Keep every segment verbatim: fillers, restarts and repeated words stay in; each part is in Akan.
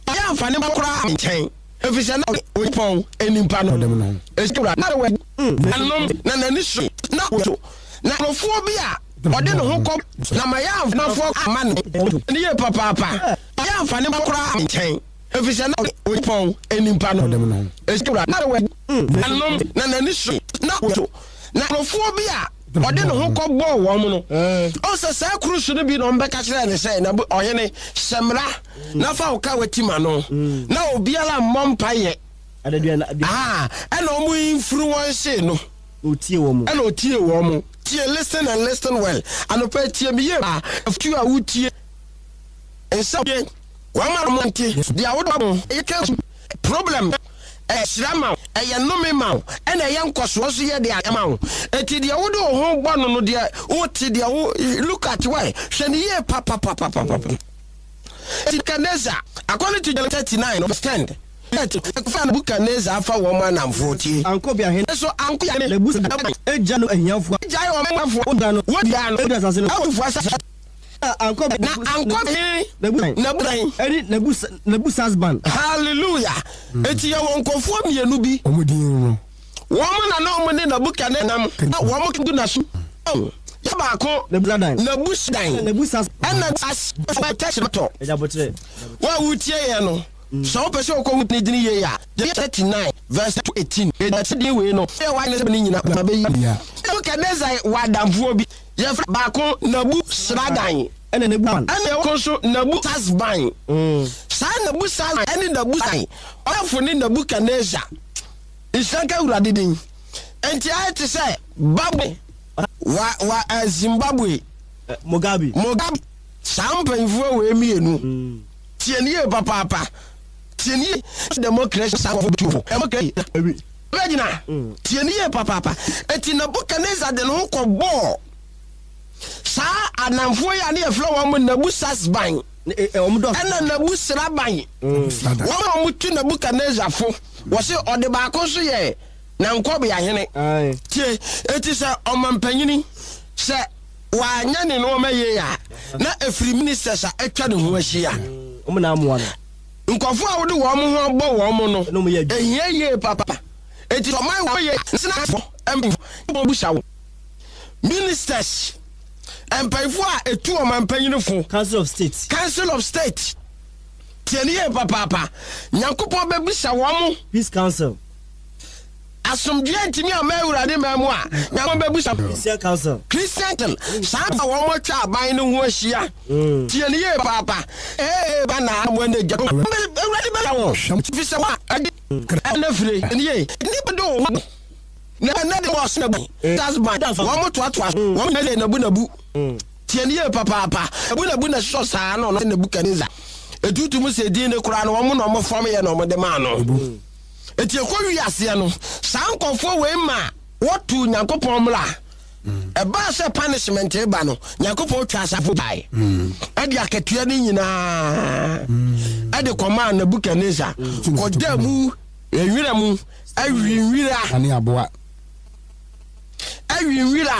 Ɔyɛ amfa ne ba koraa nkyɛn, efisɛ na Onyankopɔn nipa no. Esi na wɔ anom na n'ani so na so na nkurɔfoɔ bi a ɔde ne ho kɔ na ma yɛ amfafoɔ ama no ne yie papaapa. Ɔyɛ amfa ne ba koraa nkyɛn, efisɛ na Onyankopɔn nipa no. Esi na wɔ anom na n'ani so na so na nkurɔfoɔ bi a ɔde ne ho kɔ bɔɔ wɔn no, ɔsɛ saa kurusu no bi na ɔmbɛka kyerɛ ne sɛ na ɔhene hyɛ mmara na fa wo ka wati ma no na obiara mmɔ mpayɛ. Ɛna ɔmo influence no. Otie wɔn mu. Ɛna otie wɔn mo. Tie, listen and listen well. Anɔpɛ, tie mi yie paa. Afutu a wotie nsa yɛ wɔn a wɔn nte deɛ awodo mo ɛyɛ problem, ɛhyira ma wo, ɛyɛ nnome ma wo, ɛna ɛyɛ nkɔsoɔ nso yɛ deɛ ma wo. Eti deɛ wode wo ho bɔ no no deɛ wote deɛ wo look at why, hwɛ ne yie papapapapapa. Eti Nebukadnezar, according to Jeremiah thirty nine verse ten, fa Nebukadnezar afa wɔn anamfoɔ, tie. Ankɔbi ahene. Nso anko yɛ Nebusa egya no ahiafoɔ. Gyae wɔn amanfoɔ. Wodua no. Wodua no. Ɛwɔ asase no. Ɛwɔ fufu asase. Ankɔbi. Na ankɔbi Nebusa. Nebusa. Ɛne Nebusa Nebusasban. Hallelujah! Eti yɛ wɔn nkɔfoɔ mmienu bi. Ɔmo din no. Wɔn na na wɔn ne Nebukadnezar nam na wɔn gu na so yɛ baako. Nebusadan. Nebusadan. Nebusas. Ɛna asɛtɛkyerɛtɔ. Ɛgyabotrɛ. Wɔn a wotie yɛn no, sɛ wopɛ sɛ wokɔ wo ne din yie a, thirty nine verse eighteen ɛti din wei no yɛ wayɛ sɛ ne nyina ma bɛyi. Nebukadnezar wɔ adamfoɔ bi, yɛfrɛ baako Nabu Sradan. Ɛna Nebusan. Ɛna ɛwɔ nso Nabu Sasban. Saa Nabu Sasban ɛne Nabu San ɔyɛfo ne Nebukadnezar. Nhyira Awurade din. Nti ayɛ te sɛ Babwe wa wa ɛ Zimbabwe. Mugabe. Mugabe. Saa mpanyinfoɔ wei mmienu, tie ne yie papaapa, tie ne yie. Democracy, saa nkɔfo tu fo democracy bɛgyina. Tie ne yie papaapa. Eti Nebukadnezar de ne ho kɔ bɔɔ saa anamfoɔ yi a ne yɛfrɛ wɔn mo Nabu Sasban. Wɔn dɔ. Ɛna Nabu Sraban. Sradan. Wɔn a wɔtu Nebukadnezar fo, wɔsi ɔde baako nso yɛ nankɔbeahene. Ayi. Tie, eti sɛ ɔmampanyini sɛ wanyɛ ne nneɛma yie a, na efiri ministers a atwa ne ho ahyia. Wɔn na amoa no. Nkɔfo a wode wɔn ho abɔ wɔn no Ɛna wɔn yɛ adwuma. Ehia yie papa. Eti ɔman wɔ yɛ sinafo mpanyinfo busa wo ministers, mpanyinfo a etu ɔmampanyini fo. Council of State. Council of State, tie ne yie papaapa. Nyankopɔn bɛbisa wɔn mo. Peace Council. Asomdwoe ntumi ama Awurade ma mu a, Nyankopɔn bɛbisa. Christian Council. Christian, saa a wɔn atwa aban no ho ahyia, tie ne yie papaapa. Ee, ba na mo ani gya, Awurade bɛbisa wɔn fi sɛ wa ɛde ɛna fire ne yie nipa de wo ho na ɛna de wɔ sɛ bu dasban wɔn mo toatoa so wɔn nyɛ de nabu nabu. Tie ne yie papaapa. Nabu nabu na sɔ saa na ɔno Nebukadnezar etutu mu sɛ din ne koraa no, wɔn na wɔn fam yɛ na wɔn de maa no. Eti ekɔ wi aseɛ no, saa nkɔfoɔ wei ma wɔtu Nyankopɔn mmra. Ɛbaa sɛ punishment ba no, Nyankopɔn twa asafo bae, ɛde akatua no nyinaa ɛde kɔmaa Nebukadnezar, kɔda mu nwira mu awi nwira. Ane aboa. Awi nwira.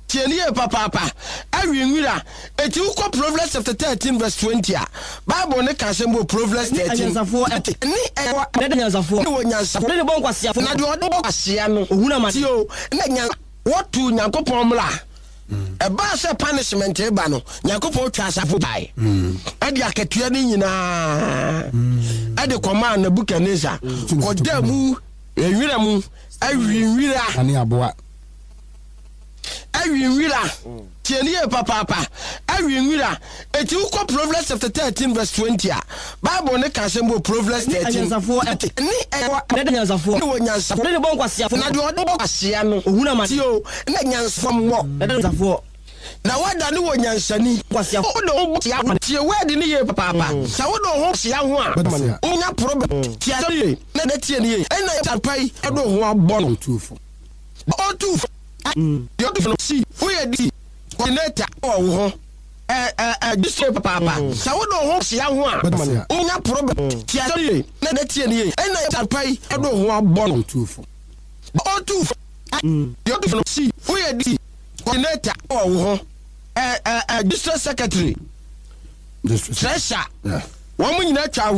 Tie ne yie papaapa. Awi nwira. Eti wokɔ Proverbs chapter thirteen verse twenty a, Bible ne ka asɛm wɔ Proverbs Ne thirteen. anyansafoɔ ɛte. Ne ɛwɔ Ne de nyansafoɔ. Ne wɔ nyansafoɔ. Ne de bɔ nkwasiafoɔ. Na deɛ ɔde bɔ kwasia no, Ohun amane. tie o, na nyan wɔtu Nyankopɔn mmra. Ɛbaa sɛ punishment ba no, Nyankopɔn twa asafo bae, ɛde akatua no nyinaa ɛde kɔmaa Nebukadnezar, kɔda mu nwira mu awi nwira. Ane aboa. Awi nwira. Tie ne yie papaapa. Awi nwira. Eti wokɔ Proverbs chapter thirteen verse twenty a, Bible ne ka asɛm wɔ Proverbs Ne thirteen. anyansafoɔ ɛte. Ne ɛwɔ Ne de nyansafoɔ. Ne wɔ nyansafoɔ. Ne de bɔ nkwasiafoɔ. Na deɛ ɔde bɔ kwasia no, Ohun amane. tie o, na nyansafoɔ mmɔ. Ne de nyansafoɔ. Na wada ne wɔ nyansani. Nkwasiafoɔ. Wode wo ho sia, tie word ne yie papaapa. Sɛ wode wo ho sia ho a, Bɛda wonya problem. Tie asɛm yie na na tie ne yie. Ɛna yɛ yi ɔde wo ho abɔ no. Otuufo. Ɔtu fo. Deɛ ɔtu fo no si woyɛ di coordinator wɔ wo ho ɛ ɛ ɛ district papaapa. Sɛ wode wo ho sia ho a, Bɛda wonya problem. Tie asɛm yie na na tie ne yie. Ɛna yɛ yi ɔde wo ho abɔ no. Otuufo. Ɔtu fo. Deɛ ɔtu fo no si woyɛ di coordinator wɔ wo ho ɛ ɛ ɛ district secretary, District. treasurer, Yeah. wɔn nyinaa twa ho.